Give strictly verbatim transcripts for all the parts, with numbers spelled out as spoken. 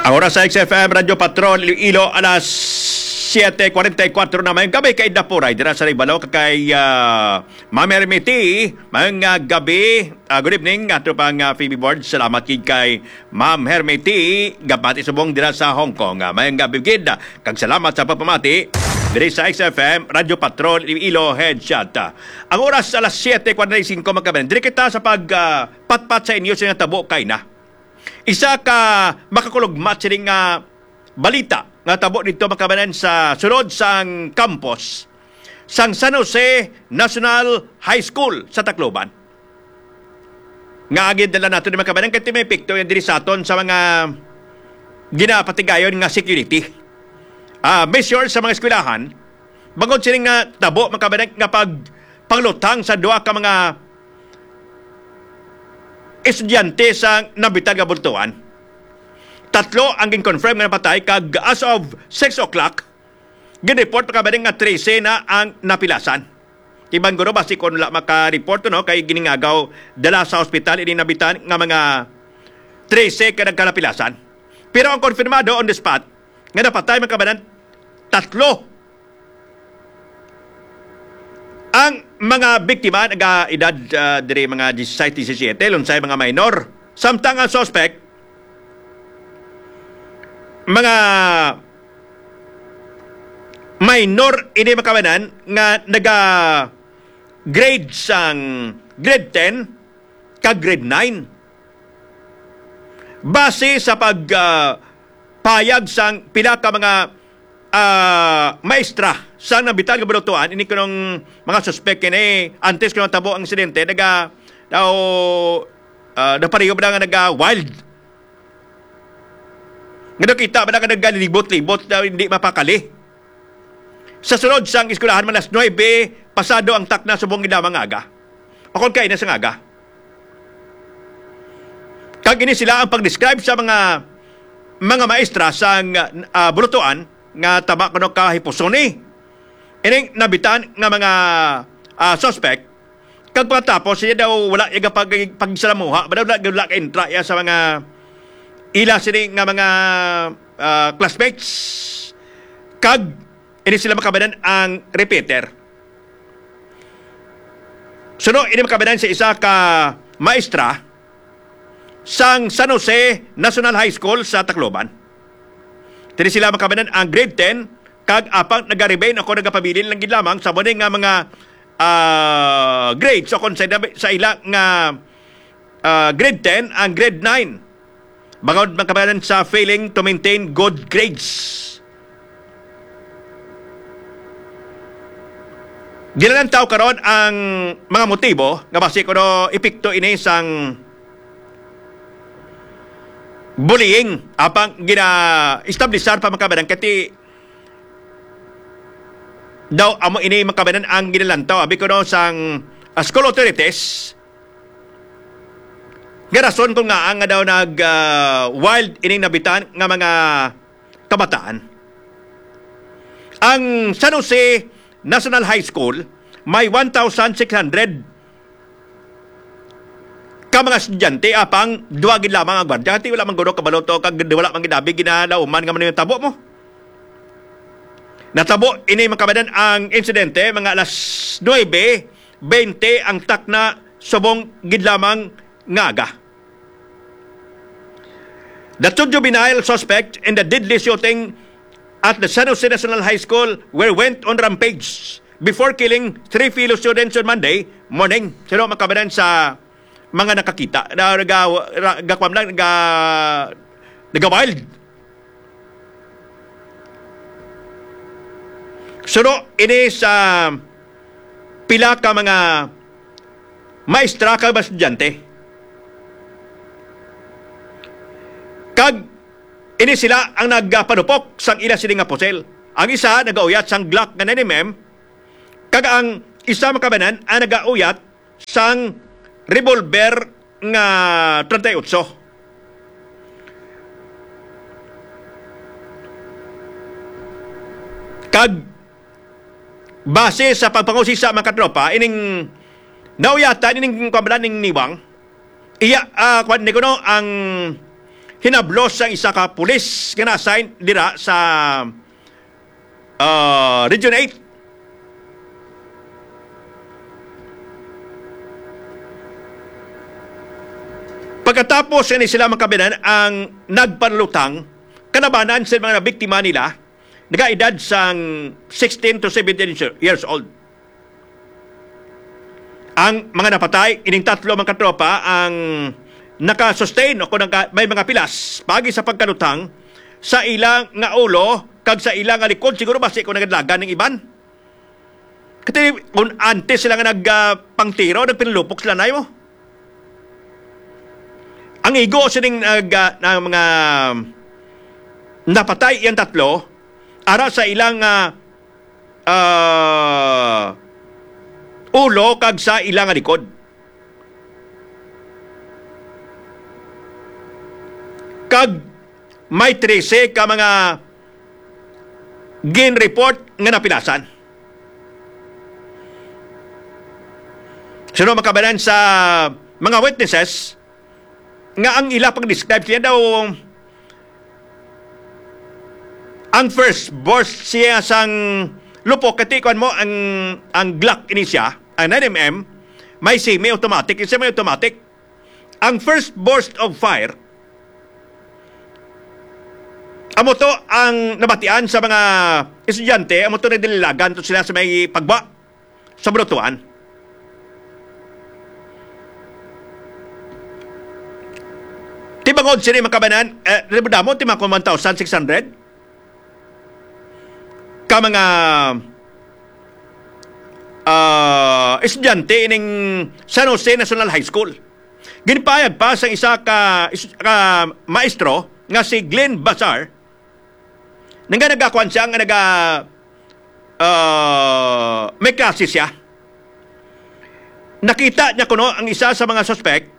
Ang oras sa X F M Radyo Patrol Iloilo, alas siete cuarenta y cuatro na. Mayong gabi kay Dapuray dira sa Ribalo, kay, ah, Ma'am Hermity. Mayong, ah, gabi, ah, good evening, ato pang, ah, Phoebe Board. Salamat gid kay Ma'am Hermity, gabati subong dira sa Hong Kong. Ah, mayong gabi gid, ah, kag salamat sa pagpamati diri sa X F M Radyo Patrol Iloilo Headshot. Ah, ang oras alas siete cuarenta y cinco, mga kabayan. Diri kita sa pag, ah, patpat sa inyo sa tabo kay na. Isa ka makakulugmat sini nga balita nga tabo dito, mga kabayan, sa sulod sang campus sang San Jose National High School sa Tacloban. Nga agi dala nato ni, mga kabayan, kay may epekto yan diri sa aton sa mga ginapatigayon nga security, ah, measures sa mga eskwelahan. Bangod sini nga tabo, mga kabayan, nga pag panglutang sa duha ka mga estudyante sa nabitan nga bultuhan. Tatlo ang gin-confirm nga napatay, kag as of six o'clock, gin-report pa kabaning nga trese na ang napilasan. Iban guro, basi kon wala maka-report, no, kay giningagaw dala sa ospital ini nabitan nga mga trese ka nagkanapilasan. Pero ang konfirmado on the spot nga napatay, mga kabayan, tatlo. Ang mga biktima naga-edad, ah, diri mga disisais, disisiyete, lunsay mga minor. Samtang ang suspect, mga minor ini, mga kabayan, nga naga-grade sang grade ten kag grade nine. Base sa pag, ah, payag sang pila ka mga, ah, maestra sa nabitan nga bultuhan, ini kunong mga suspek ini, antes kunong tabo ang insidente, naga, daw, ah, napareho ba nga naga-wild? Nga nakita ba nga nagalibot-libot na hindi mapakali? Sa sulod sang eskwelahan, mga alas nuebe pasado ang takna subong gid lamang nga aga. Akon kay na sa aga. Kag ini sila ang pag-describe sa mga, mga maestra sa, ah, bulutuan nga tama kuno ka hipuson ni ining nabitan nga mga, ah, suspect. Kag pagkatapos, siya daw wala iya pag-, pagsalamuha, wala, wala, wala ka-intra iya sa mga ila sini nga mga, ah, classmates. Kag ini sila, mga kabayan, ang repeater. Suno ini, mga kabayan, sa isa ka maestra sang San Jose National High School sa Tacloban. Diri sila, mga kabayan, ang grade ten, kag apang naga-remain o nagapabilin lang gid lamang sa muni nga mga, ah, grades o kon sa, sa ila nga, ah, grade ten ang grade nine. Bangod, mga kabayan, sa failing to maintain good grades. Ginalantaw karon ang mga motibo nga basi kuno epekto ini sang bullying, apang gina-establisar pa, mga kabayan, kay daw amo ini, mga kabayan, ang ginalantaw abi kuno sang, ah, school authorities nga rason kung ngaa nga daw nag, ah, wild ining nabitan nga mga kabataan. Ang San Jose National High School may one thousand six hundred ka mga estudyante, apang duha gid lamang ang gwardiya. Ti wala man guro kabalo to, kag wala man gid abi ginalauman nga man yung tabo mo. Natabo ini, mga kabayan, ang insidente mga alas nuebe bente ang takna subong gid lamang nga aga. The two juvenile suspect in the deadly shooting at the San Jose National High School were went on rampage before killing three fellow students on Monday morning. Sino makabanan sa mga nakakita? Na, naga-, ra-, gakwam lang, naga-, naga-wild. Sino ini sa pila ka mga maestra kag mga estudyante. Kag ini sila ang nagapanupok sang ila sini nga pusil. Ang isa nagauyat sang Glock nga nine M M, kag ang isa makabanan ang nagauyat sang revolver nga treinta y ocho. Kag base sa pagpangusisa, mga katropa, ining nauyatan, ining kwambalan ning niwang, iya, ah, kwan ni kuno, ang hinablos sang isa ka pulis nga na-assign dira sa, ah, Region eight. Pagkatapos ini sila, mga kababayan, ang nagpanulutang kalabanan sa mga nabiktima nila, nagaedad sang sixteen to seventeen years old. Ang mga napatay, ining tatlo, mga katropa, ang naka-sustain o kung naka-, may mga pilas paagi sa pagkalutang sa ila nga ulo kag sa ila nga likod, siguro basi kung nagadlagan ning iban. Kati kung antes sila nga nag, ah, pangtiro, nagpinulupok sila na mo. Ang igo sining nag, ah, ng mga napatay, iyang tatlo, ara sa ilang, ah, ah, ulo kag sa ilang likod. Kag may trese ka mga gin-report nga napilasan. Suno, mga kababayan, sa mga witnesses nga ang ila pag-describe siya daw ang first burst siya sang lupok, kati kuan mo ang, ang Glock ini siya, ang nine M M, may semi-automatic, isa may automatic. Ang first burst of fire, amo to ang nabatian sa mga estudyante, amo to nagdalilagan to sila sa may pagwa sa bulutuan. Tibangod sini, mga kababayan, eh, damo, ti mga one thousand six hundred ka mga, ah, estudyante ining San Jose National High School. Ginpahayag pa sang isa ka is-, ka maestro nga si Glenn Bazar, nga nagakuan siya, nga naga, ah, may klase siya. Nakita niya kuno ang isa sa mga suspect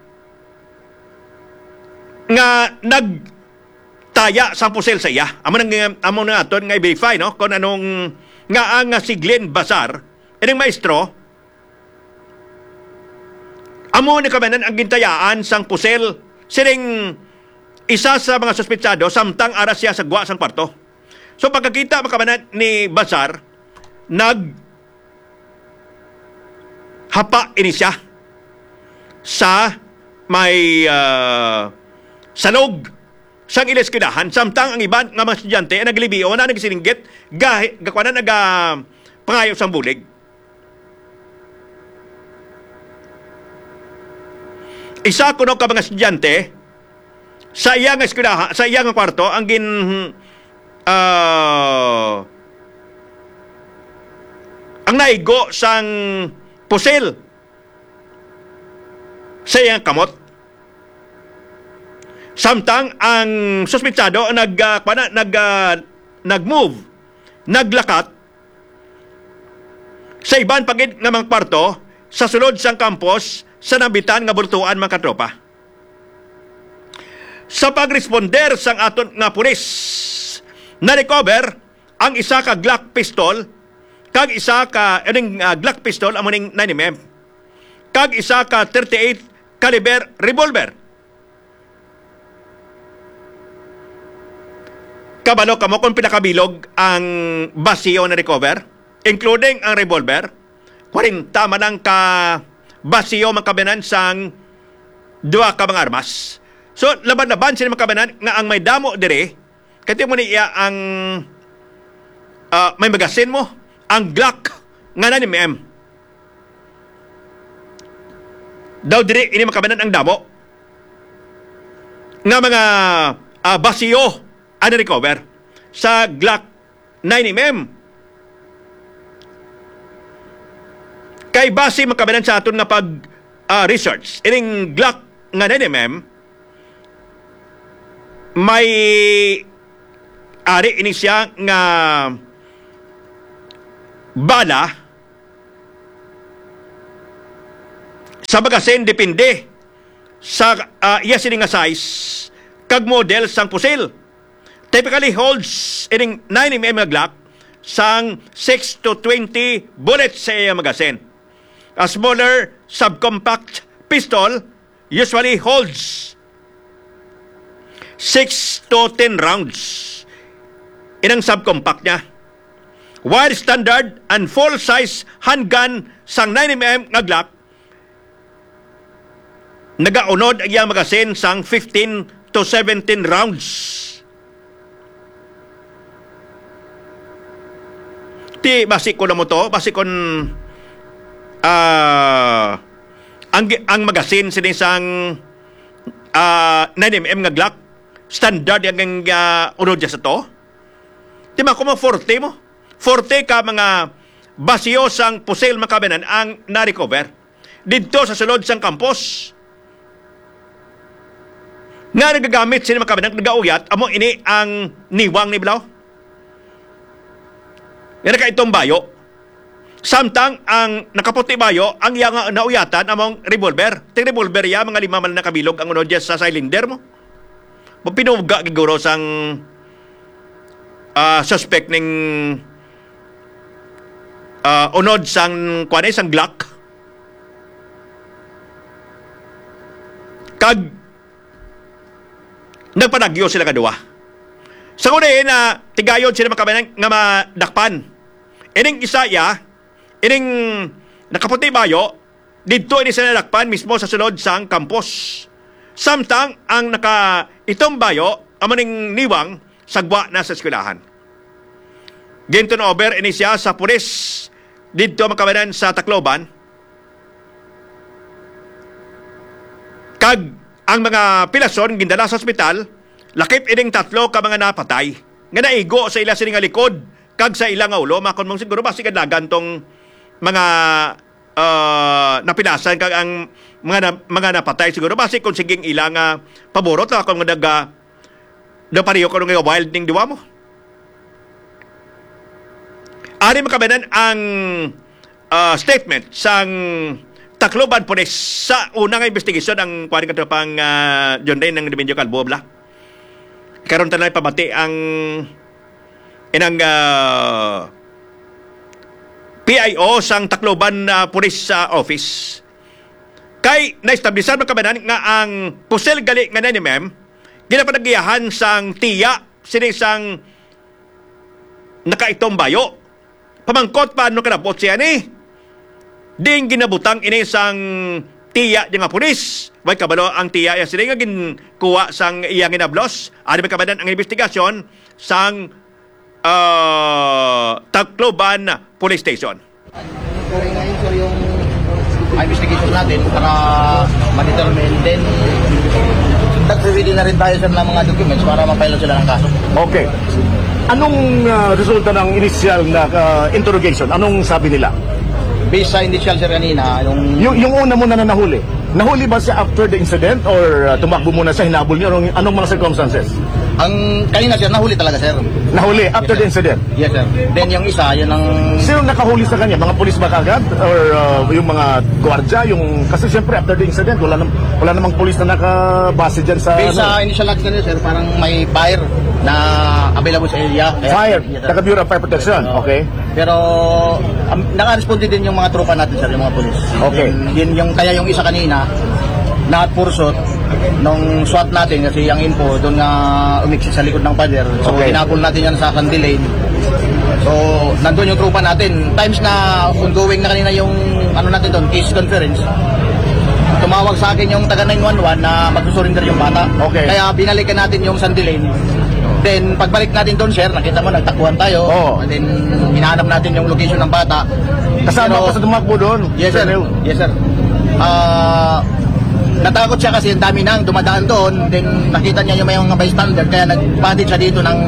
nga nagtaya sang pusil sa iya. Amo nang, amo na aton nga i-verify, no, kung anong, nga ang, nga si Glenn Bazar, ining maestro, amo ni kamanan ang gintayaan sang pusil sining isa sa mga suspetsado, samtang ara siya sa gwa sang kwarto. So, pagkakita, mga kababayan, ni Bazar, naghapa ini siya sa may, ah, salog sang ila eskwelahan, samtang ang iban nga mga estudyante ang naglibio na nagsilinggit, gahi-, gakuanan, naga-, pangayo sang bulig. Isa kuno ka mga estudyante sa iya nga eskwelaha, sa iya nga kwarto, ang gin-, ah, ang naigo sang pusil sa iya nga kamot. Samtang ang suspetsado nag, ah, kuwan na, nag, ah, nag-move, naglakat, sa iban pa gid nga mga kwarto sa sulod sang campus sa nabitan nga bulutuan, mga katropa. Sa pagresponder sang aton nga pulis, na-recover ang isa ka Glock pistol kag isa ka, ining, ah, Glock pistol amo ning nine M M, kag isa ka thirty-eight caliber revolver. Kabalo kamo kung pila ka bilog ang basiyo na recover, including ang revolver? Kwarenta man lang ka basiyo, mga kababayan, sang duha ka mga armas. So, laban-laban sila, mga kababayan, nga ang may damo diri, kati mo ni iya ang, ah, may magasin mo, ang Glock nga nine M M. Daw diri ini, mga kababayan, ang damo nga mga, ah, basiyo ang na-recover sa Glock nine M M. Kay base, mga kababayan, sa aton nga pag, ah, research, ining Glock nga nine M M, may ari ini siya nga bala sa magasin, depende sa, ah, iya sini nga size kag model sang pusil. Typically holds ining nine M M nga Glock sang six to twenty bullets sa iya magasin. A smaller subcompact pistol usually holds six to ten rounds. Inang subcompact niya. While standard and full-size handgun sang nine M M nga Glock nagaunod ang iyang magasin sang fifteen to seventeen rounds. Ti, basi ko na mo to, basi kon, ah, ang, ang magasin sini sang, ah, nine M M nga Glock, standard ang, ang, ah, unod niya sa to. Di ba, kung mga forty mo? Forty ka mga basyo sang pusil, mga kabayanan, ang na-recover didto sa sulod sang campus. Nga nagagamit sila, mga kabayanan, nagauyat, amo ini ang niwang ni Blaw. Nga nakaitong bayo. Samtang ang nakaputi bayo, ang iya nga nauyatan among revolver. Ting revolver iya, mga lima man lang kabilog ang unod niya sa cylinder mo. Mapinuga giguro sang, ah, suspect ning, ah, unod sang, kuwan eh, sang Glock. Kag nagpanagyo sila kaduha. Sa una, eh, na tigayon sila makabanan nga madakpan. Ining isa iya, ining nakaputi bayo, didto ini sila nadakpan mismo sa sulod sang campus. Samtang ang naka-itom bayo, amo ning niwang, sagwa na sa eskwelahan. Gintun over ini siya sa pulis didto makabanan sa Tacloban. Kag ang mga pilason gindala sa ospital, lakip ining tatlo ka mga napatay nga naigo sa ila sini nga likod kag sa ila nga ulo, makon mong siguro basi kadlagan tong mga, ah, napilasan kag ang mga na-, mga napatay siguro basi kung siging ila nga paborot, makon nga daga daw pareho kuno nga wild ning duwa mo. Ari makabanan ang, ah, statement sang Tacloban Police sa una nga investigasyon ang kuwan nga tropang, ah, John Ray ng Remigio Calvo, bla. Karon ta na pamati ang inang, ah, P I O sang Tacloban, ah, Police, ah, Office. Kay naestablisan makabanan nga ang pusil gali nga nine M M ginapanagiyahan sang tiya sini sang nakaitom bayo. Pamangkot pa ano kadabot siya ni? Ding ginabutang ini sang tiya niya nga pulis. Way kabalo ang tiya iya sini nga ginkuha sang iya ginablos. Ano may kabanan ang investigasyon sang, ah, Tacloban Police Station? Ang investigation natin para ma-determine, then nagre-ready na rin tayo, sir, ng mga documents para ma-file sila ng kaso. Okay. Anong, ah, resulta ng initial na, ah, interrogation? Anong sabi nila? Based sa initial, sir, kanina, yung Yung, yung una muna na nahuli. Nahuli ba siya after the incident or, ah, tumakbo muna siya, hinabol niyo? Anong, anong mga circumstances? Ang kanina, sir, nahuli talaga, sir. Nahuli after the incident? Yes, sir. Then yung isa, yun ang Sino nakahuli sa kanya? Mga pulis ba kagad? Or, uh, yung mga gwardiya? Yung, kasi siyempre after the incident, wala, nam- wala namang pulis na nakabase dyan sa Based ano. Sa initial natin, sir, parang may fire na available sa area. Kaya Fire? Yes, sir. Taga Bureau of Fire Protection? Oo. Okay. Pero um, naka-responde din yung mga tropa natin, sir, yung mga pulis. Okay. Yun, yun yung, kaya yung isa kanina, na-pursot nung SWAT natin kasi ang info doon nga umiksi sa likod ng pader. So, Okay. Hinabol natin yan sa Sandy Lane. So, nandun yung tropa natin. Times na ongoing na kanina yung ano natin doon, case conference. Tumawag sa akin yung taga nine one one na magsusurrender yung bata. Okay. Kaya binalikan natin yung Sandy Lane. Then, pagbalik natin doon, sir, nakita mo, nagtakbuhan tayo. Oo. And then, hinahanap natin yung location ng bata. Kasama Pero, ko sa tumakbo doon, Yes, sir. Sir Neo. Yes, sir. Ah, natakot siya kasi ang dami nang dumadaan doon. Then, nakita niya yung may mga bystander, kaya nagpahatid siya dito ng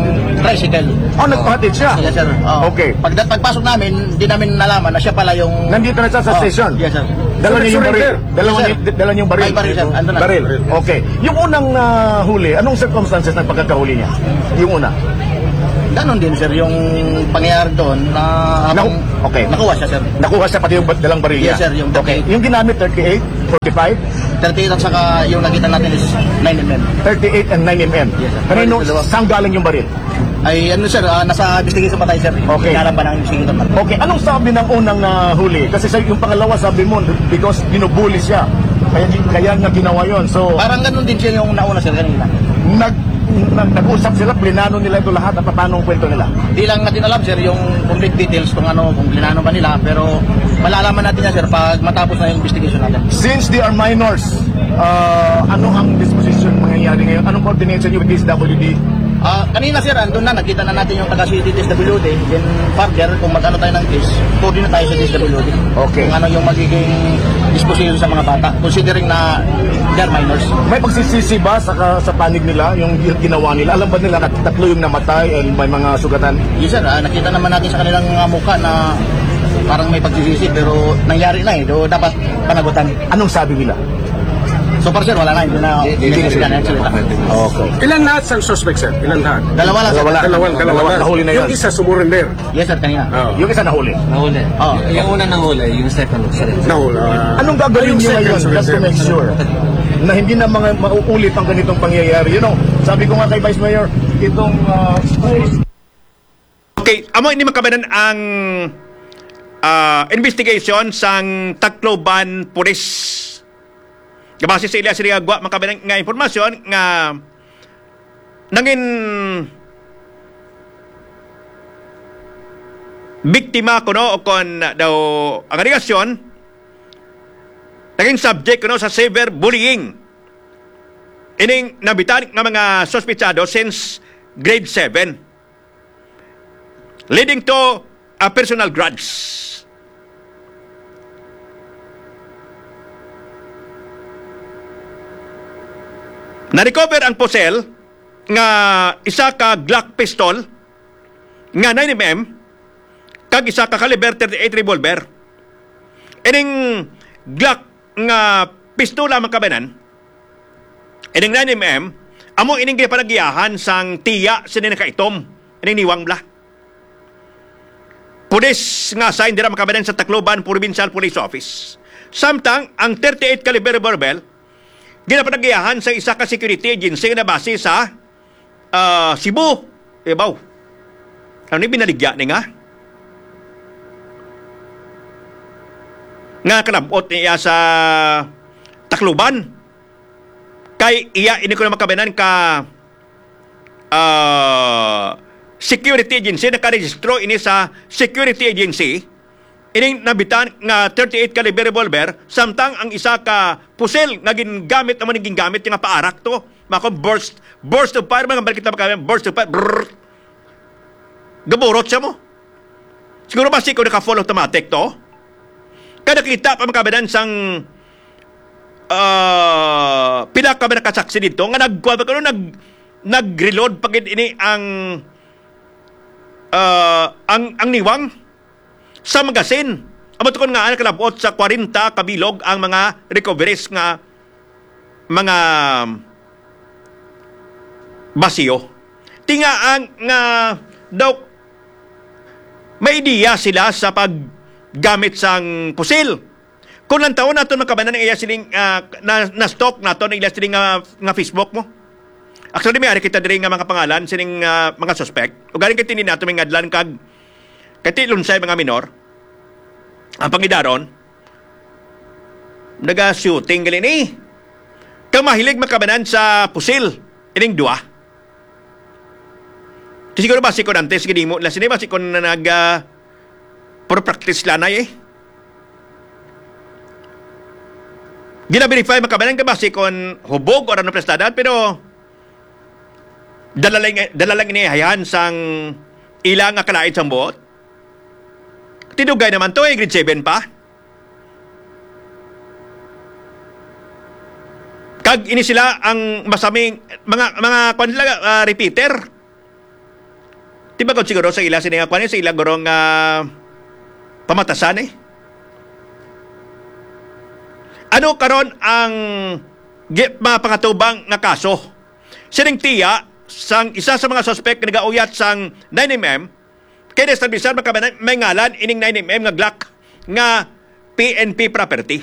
tricycle. Oh, nagpahatid siya? Yes, sir. Oo. Okay. Pag, pagpasok namin, di namin nalaman na siya pala yung Nandito na siya sa Oh, station? Yes, sir. Dala So, niya yung baril? nag-surrender? Dala Yes, niya, sir. dala niya yung baril? May baril, sir. Andun na. Baril. Okay. Yung unang, ah, huli, anong circumstances ng pagkakahuli niya? Yung una? Ganon din, sir, yung pangyayari doon na Naku-, okay. nakuha siya, sir. Nakuha siya pati yung ba-, dalang baril Yes, niya? sir, yung Okay. thirty-eight. Yung ginamit, thirty-eight, forty-five? Thirty-eight at saka yung nakita natin is nine M M. Thirty-eight and nine M M. Yes, sir. Kanino, Dalawa. saan galing yung baril? Ay, ano, sir, ah, nasa investigation pa tayo, sir. Okay. Hinaharap pa ng investigator natin. Okay, anong sabi ng unang, ah, huli? Kasi sa, yung pangalawa, sabi mo, because binubuli siya. Kaya, kaya niya ginawa yon. So, Parang ganun din siya yung nauna, sir, kanina. nag-, Nag-, nag-usap sila, plinano nila ito lahat at paano ang kwento nila? Di lang natin alam, sir, yung complete details kung ano, kung plinano ba nila, pero malalaman natin yan, sir, pag matapos na yung investigation natin. Since they are minors, uh, ano ang disposition mangyayari ngayon? Anong coordination niyo with D S W D? Ah, kanina, sir, andun na, nakita na natin yung taga-city D S W D, then further, kung mag-ano tayo ng case, coordinate tayo sa D S W D. Okay. Kung ano yung magiging disposition sa mga bata, considering na they're minors. May pagsisisi ba sa, ka-, sa panig nila yung ginawa nila? Alam ba nila na tatlo yung namatay and may mga sugatan? Yes, sir. Ah, nakita naman natin sa kanilang mga mukha na parang may pagsisisi, pero nangyari na eh. So, dapat panagutan. Anong sabi nila? So far, sir, wala na. Hindi na, hindi na sila nagsalita. Okay. Ilan lahat sang suspect, sir? Ilan lahat? Dalawa lang, sir. Dalawa lang. Dalawa, dalawa. Dalawa. Nahuli na yun. Yung isa, sumurrender. Yes, sir, kanina. Oo. Yung isa nahuli. Nahuli. Oh. Y-, yung una nahuli, yung second, sir. Nahuli, ah. Anong gagawin niyo ngayon just to make sure na hindi na mga mauulit ang ganitong pangyayari? You know, sabi ko nga kay Vice Mayor, itong, ah, Okay, amo ini, mga kababayan, ang, ah, investigation sang Tacloban Police. Base sa ila sila gwa, mga kababayan, nga impormasyon nga nangin biktima kuno o kon daw ang alegasyon naging subject kuno sa cyberbullying ining nabitan nga mga suspitsado since grade seven, leading to a personal grudge. Na-recover ang pusil nga isa ka Glock pistol nga nine M M kag isa ka caliber thirty-eight revolver. Ining Glock nga pistola, mga kababayan, ining nine M M, amo ining ginapanagiyahan sang tiya sini nakaitom, ining niwang bala. Pulis nga assigned dira, mga kababayan, sa Tacloban Provincial Police Office. Samtang ang thirty-eight caliber revolver ginapanagiyahan sa isa ka security agency nga nabase sa, ah, Cebu, Davao. Ano ni binaligya ni nga? Nga kalabot niya sa Tacloban. Kay iya ini ko na makabanan ka, ah, security agency, nakarehistro ini sa security agency. Ining nabitan nga thirty-eight caliber revolver, samtang ang isa ka pusil nga gingamit naman, gingamit nga paarak to. Mako burst, burst of fire, mga balik kita makabanan, burst of fire. Brrr. Gaburot siya mo. Siguro ba si ko naka full automatic to? Kada kita pa makabanan sang, ah, pila ka ba nakasaksi dito nga nagkuha ba kuno, nag, nag-reload pa gid ini ang, ah, ang, ang niwang sa magasin. Amo tukon nga nakalabot sa kwarenta ka bilog ang mga recoveries nga mga basiyo. Tinga ang nga daw may ideya sila sa paggamit sang pusil. Kung lantawon naton, mga kabanan, ang iya siling, ah, na, na-stalk naton ang iya siling nga, nga Facebook mo. Actually, may ari kita diri nga mga pangalan sining, ah, mga suspect. Ugaling kay tini nato may ngadlan kag kay ti lunsay mga minor. Ang pangidaron, naga-shooting gali ni. Kang mahilig makabanan sa pusil, ining duwa. Ti siguro basi kon antes ginimo nila sini, basi kon na nag, ah, pro practice lanay eh. Gina-verify makabanan ka basi kon hubog or ano prestadan, pero dala lang, dala lang ini hayhan sang ila nga kalain sang buot. Tinugay naman to, eh, grade seven pa. Kag ini sila ang masaming mga, mga, kwan sila, ah, repeater. Di ba, kung siguro sa ila, sini nga, kwan, sa ila, guro nga pamatasan, eh. Ano karon ang gi-, mga pangatubang nga kaso? Sining tiya sang isa sa mga suspek nga nagauyat sang nine M M, kay na-establish man kabanan may ngalan ining nine M M nga Glock nga P N P property.